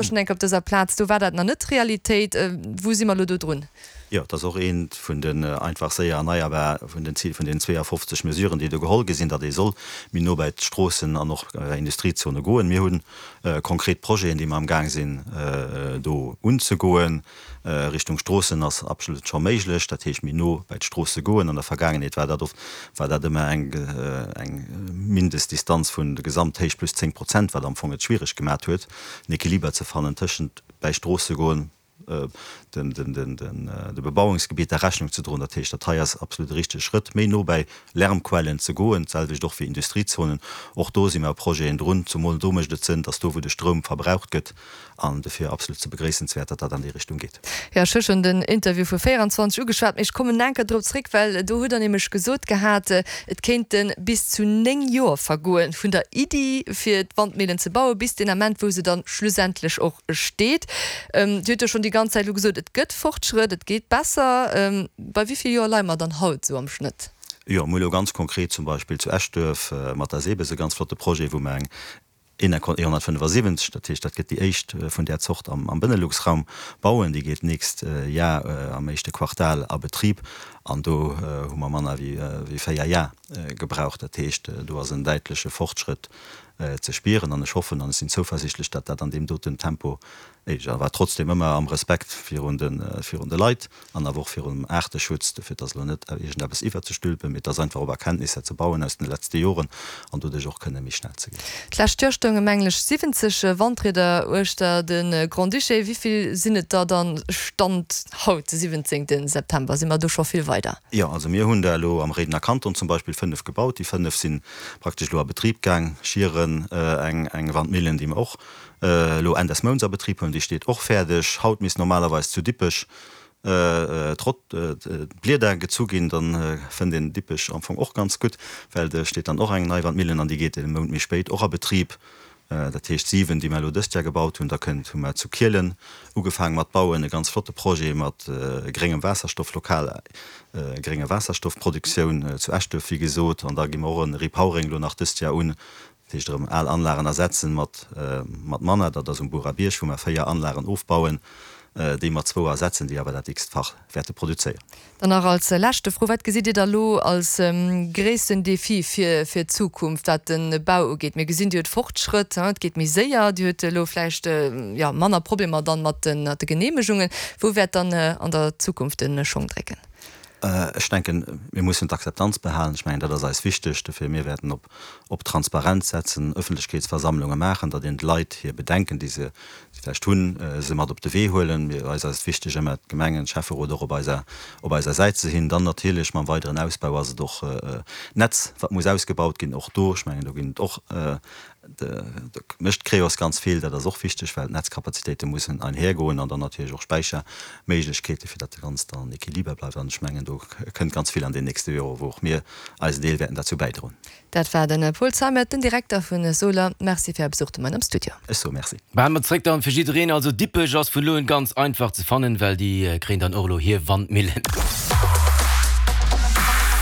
Schon enk op dëser Plaz, do war dat nach net d'Realitéit. Wou si mer elo do drun? Jo, et ass och eent vun den einfach séier erneierbar, vun den Zil vun den 52 Mesuren, déi do geholl gi sinn, datt ee soll méi no bäi d'Stroossen an och bei Industriezone goen. Mir hu konkret Projeten, déi mer amgaang sinn do unzegoen. Richtung Stroossen ass absolut scho méiglech, dat heescht méi no bäi d'Stroosse goen. An der Vergaangenheet war dat oft, war dat ëmmer eng eng Mindestdistanz vun der Gesamthéicht plus 10 Prozent, wat am Fong et schwiereg gemat huet, en Equiliber ze fannen tëschent bäi Stroosse goen, den den den de Bebauungsgebieter Rechnung ze droen. Dat heescht, dat hei ass absolut e richtege Schrëtt, méi no bäi Lärmquellen ze goen. D'selwecht och fir Industriezonen. Och do si mer u Projeten drun. Zumol do mécht et Sënn, dass do wou de Stroum verbraucht gëtt, An dofir absolut ze begréissenswäert, datt dat an déi Richtung geet. Jo, ech hu schonn den Interview vu 24 ugeschwat, mee ech kommen enker drop zréck, well do hutt Der nämlech gesot gehat, et kéinte bis zu 9 Joer vergoen, vun der Iddi fir d'Wandmillen ze bauen, bis deen Ament, wou se dann schlussendlech och steet. Dir hutt jo schonn déi ganz Zäit elo gesot, et gëtt Fortschrëtt, et geet besser. Bei wéi vill Joer leie mer dann haut esou am Schnëtt? Jo, mir hu elo ganz konkret zum Beispill zu Eschduerf mat der SEBES e ganz flotte Projet, wou mer eng Enercon 175, dat heescht dat gëtt déi éischt vun där Zort am Benelux-Raum bauen. Déi geet d'nächst Jar am éischte Quartal a Betrib an do hu mer manner wéi 4 Jar gebraucht. Dat heescht, do ass en däitleche Fortschrëtt ze spieren an ech hoffen an ech sinn zouversichtlech, datt dat an deem doten Tempo éischt, awer trotzdem ëmmer am Respekt virun de Leit, An awer och virum Aarteschutz, dofir et ass elo net iergendeppes iwwerzestülpen, mee et ass einfach op Erkenntnisser ze bauen aus den letzte Joren an doduerch och kënne méi schnell ze ginn. D'lescht Joer stounge mengen ech 70 Wandrieder uechter de Grand-Duché. Wéi vill sinn et der dann Stand haut, de 17 September? Si mer do scho vill weider? Jo, also mir hunn der elo am Réidener Kanton zum Beispill 5 gebaut. Déi 5 si praktesch elo a Betrib gaang. Schieren, eng Wandmillen, déi mer och elo Enn des Mounts a Betrib huelen, déi steet och fäerdeg. Haut misst normalerweis zu Dippech d'Blieder gezu ginn, dann fënnt een Dippech am Fong och ganz gutt, well do steet dann och eng nei Wandmillen an déi geet e Mount méi spéit och a Betrib. Dat heescht 7, déi mer elo dëst Jahr gebaut hunn. Da kënnt, hu mer zu Kielen ugefaang mat bauen, e ganz flotte Projet mat gréngem Waasserstoff, lokal grénge Waasserstoffproduktioun zu Eschduerf, wéi gesot. An da gi mer och e Repowering elo nach dëst Jahr un, Dat heescht erëm al Anlagen ersetzen mat mat manner. Dat ass um Burabierg, wou mer 4 Anlagen ofbauen, déi mer zwou ersetzen, déi awer dat x-fach wäerte produzéieren. Dann nach als leschte Fro, Wat gesitt Dir da lo als gréissten Defi fir fir d'Zukunft, wat de Bau ugeet? Mir gesinn, Dir hutt Fortschrëtt, et geet méi séier, Dir hutt elo vläicht, jo, manner Problemer dann mat de Geneemegungen. Wou wäert dann an der Zukunft de Schong drécken? Ech denken, mir mussen d'Akzeptanz behalen. Ech mengen, dat ass eis wichteg. Dofir, mir wäerten op op Transparenz setzen, Ëffentlechkeetsversammlunge maachen, datt een d'Leit hir Bedenken, déi se vläicht hunn, se mat op de Wee huelen. Mir, eis ass et wichteg, ëmmer d'Gemengen, d'Schäfferot och op eiser, op eiser Säit ze hinn. Dann natierlech mam weideren Ausbau ass et och d'Netz, wat muss ausgebaut ginn. Och do, ech mengen, do ginn et och, do mécht d'Creos ganz vill. Dat ass och wichteg, well d'Netzkapazitéite mussen einhergoen an dann natierlech och Späicherméiglechkeeten, fir datt dat Ganzt an Equiliber bleift. An ech mengen, do kënnt ganz vill an den nächste Jore, wou och mir eisen Deel wäerten derzou bäidroen. Dat war de Paul Zeimet, den Direkter vun Soler. Merci fir Är Besuch de Moien am Studio. Ech soe Merci. Maache mer zréck dann fir jiddereen. Also Dippech ass vun elo un ganz einfach ze fannen, well déi kréien dann och elo hir Wandmillen.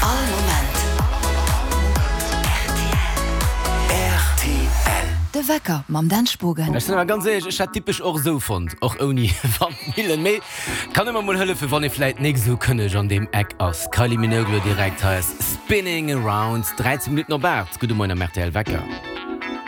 All Moment rtl. De Wecker mam Dan Spogen. Ech sinn awer ganz éierlech, ech hätt Dippech och esou fonnt, och ouni Wandmillen. Mee kann ëmmer mol hëllefen, wann ee vläit nik esou kënneg an deem Eck ass. Kylie Minogue lo direkt, hei ass Spinning Around, 13 Minutten op 8. Gudde Moien am rtl Wecker.